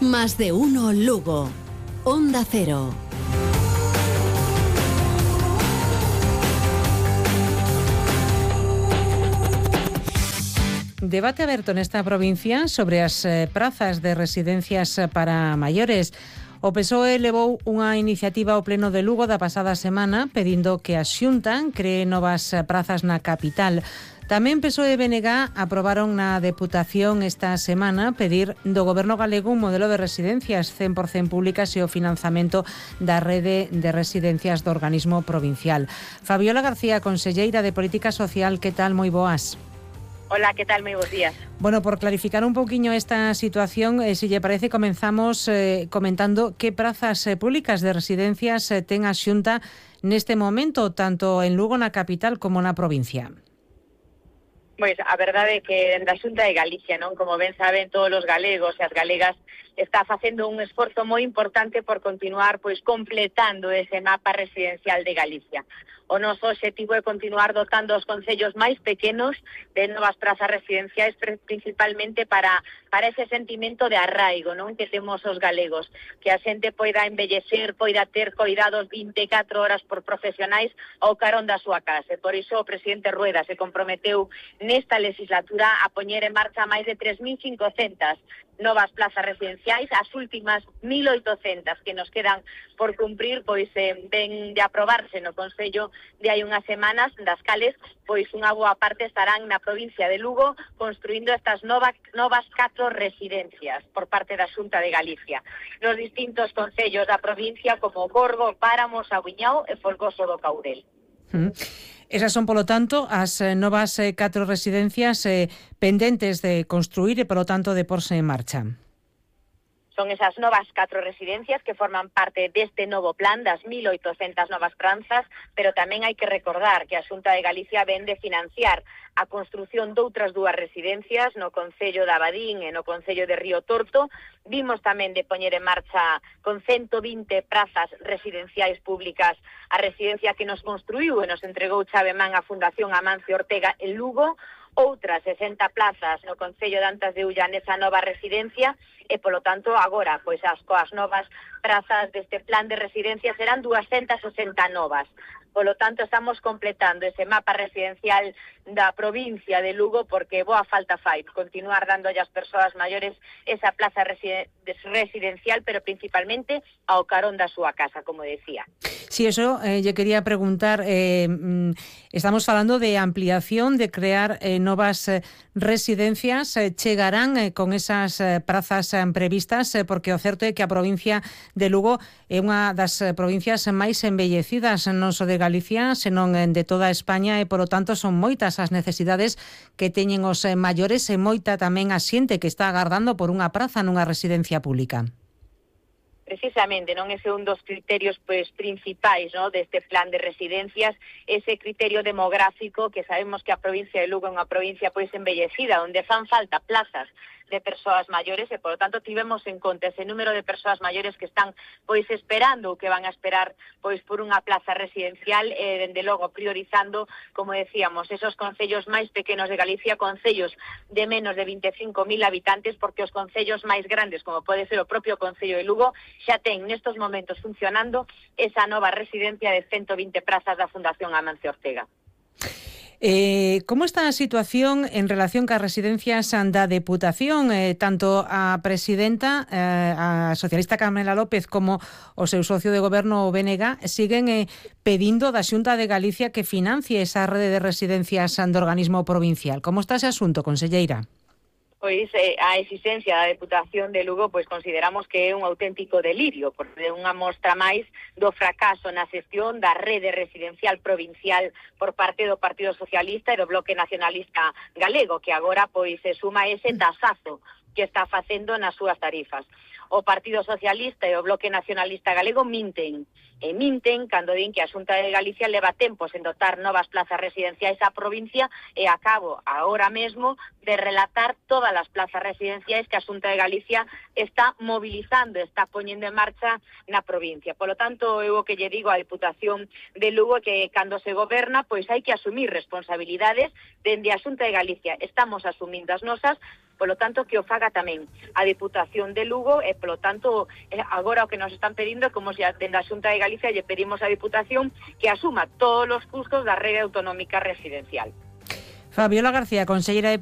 Más de uno Lugo. Onda Cero. Debate aberto nesta provincia sobre as prazas de residencias para maiores. O PSOE levou unha iniciativa ao Pleno de Lugo da pasada semana pedindo que a Xunta cree novas prazas na capital. Tamén PSOE e BNG aprobaron na Deputación esta semana pedir do Goberno galego un modelo de residencias 100% públicas e o financiamento da rede de residencias do organismo provincial. Fabiola García, conselleira de Política Social, que tal? Moi boas. Hola, ¿qué tal? Muy buenos días. Bueno, por clarificar un poquinho esta situación, si lle parece, comenzamos comentando que prazas públicas de residencias ten a Xunta neste momento, tanto en Lugo, na capital, como na provincia. Pois a verdade é que da Xunta de Galicia, non, como ben saben todos os galegos e as galegas, está facendo un esforzo moi importante por continuar pois completando ese mapa residencial de Galicia. O noso obxectivo é continuar dotando os concellos máis pequenos de novas prazas residenciais, principalmente para ese sentimento de arraigo, non, que temos os galegos, que a xente poida envellecer, poida ter coidados 24 horas por profesionais ao carón da súa casa. Por iso o presidente Rueda se comprometeu nesta legislatura a poñer en marcha máis de 3.500 novas plazas residenciais, as últimas 1.800 que nos quedan por cumprir, pois ven de aprobarse no Concello de hai unhas semanas, das cales pois unha boa parte estarán na provincia de Lugo construindo estas novas 4 residencias por parte da Xunta de Galicia nos distintos concellos da provincia como Borgo, Páramo, Sabuñao e Folgoso do Caurel. Esas son, polo tanto, as novas 4 residencias pendentes de construir e, polo tanto, de porse en marcha. Son esas novas 4 residencias que forman parte deste novo plan das 1.800 novas prazas, pero tamén hai que recordar que a Xunta de Galicia ven de financiar a construción doutras 2 residencias no Concello de Abadín e no Concello de Río Torto. Vimos tamén de poñer en marcha con 120 prazas residenciais públicas a residencia que nos construiu e nos entregou chave man a Fundación Amancio Ortega en Lugo, outras 60 plazas no Concello de Antas de Ulla nesa nova residencia e, polo tanto, agora, pois coas novas prazas deste plan de residencia serán 260 novas. Polo tanto, estamos completando ese mapa residencial da provincia de Lugo porque boa falta fai continuar dando ás persoas maiores esa plaza residencial, pero principalmente ao carón da súa casa, como decía. Sí, eso lle quería preguntar. Estamos falando de ampliación, de crear novas residencias. Chegarán con esas prazas previstas, porque o certo é que a provincia de Lugo é unha das provincias máis embellecidas non só de Galicia, senón de toda España, e, polo tanto, son moitas as necesidades que teñen os maiores e moita tamén a xente que está agardando por unha praza nunha residencia pública. Precisamente, non, ese é un dos criterios pois principais, non, deste plan de residencias, ese criterio demográfico, que sabemos que a provincia de Lugo é unha provincia pois embellecida, onde fan falta plazas de persoas maiores e, por lo tanto, tivemos en conta ese número de persoas maiores que están pois esperando ou que van a esperar pois por unha plaza residencial e, dende logo, priorizando, como decíamos, esos concellos máis pequenos de Galicia, concellos de menos de 25.000 habitantes, porque os concellos máis grandes, como pode ser o propio Concello de Lugo, xa ten nestos momentos funcionando esa nova residencia de 120 prazas da Fundación Amancio Ortega. Como está a situación en relación cas residencias da Deputación? Tanto a presidenta, a socialista Carmela López, como o seu socio de goberno, o BNG, siguen pedindo da Xunta de Galicia que financie esa rede de residencias do organismo provincial. Como está ese asunto, conselleira? Pois a existencia da Deputación de Lugo pois consideramos que é un auténtico delirio, porque é unha mostra máis do fracaso na xestión da rede residencial provincial por parte do Partido Socialista e do Bloque Nacionalista Galego, que agora pois se suma ese tasazo que está facendo nas súas tarifas. O Partido Socialista e o Bloque Nacionalista Galego minten cando din que a Xunta de Galicia leva tempos en dotar novas plazas residenciais á provincia e acabo agora mesmo de relatar todas as plazas residenciais que a Xunta de Galicia está mobilizando, está poñendo en marcha na provincia. Por lo tanto, eu o que lle digo á Deputación de Lugo é que cando se goberna, pois hai que asumir responsabilidades dende a Xunta de Galicia. Estamos asumindo as nosas, Polo tanto, que o faga tamén a Deputación de Lugo e, polo tanto, agora o que nos están pedindo, como se dende a Xunta de Galicia lle pedimos á Deputación que asuma todos os custos da rede autonómica residencial. Fabiola García, conselleira de